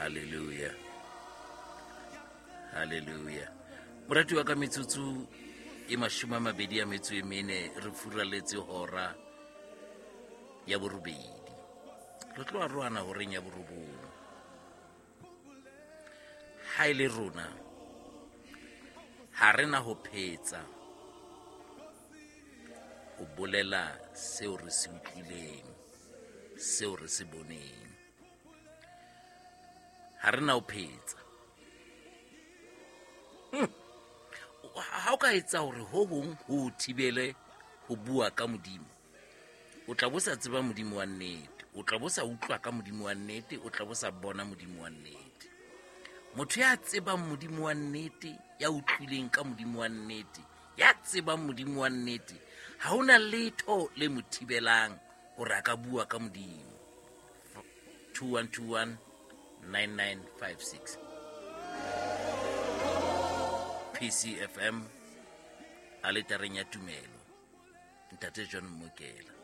Halleluja, halleluja. Morati wa ka, metsotso e 24 re furaletse hora ya 8. Re tlo arohana horeng ya 9. Ha e le rona ha re na ho phetsa ho bolela seo re se utlwileng, seo re se boneng. Ha re na ho phetsa. Ha o ka etsa hore ho hong ho o thibele ho bua ka Modimo, o tla bo sa tseba Modimo wa nnete, o tla bo sa utlwa ka Modimo wa nnete, o tla bo sa bona Modimo wa nnete. Motho ya tsebang Modimo wa nnete, ya utlwileng ka Modimo wa nnete, ya tsebang Modimo wa nnete, ha hona letho le mo thibelang hore a ka bua ka Modimo. 2121 9956. PCFM, aletareng ya tumelo, Ntate John Mokela.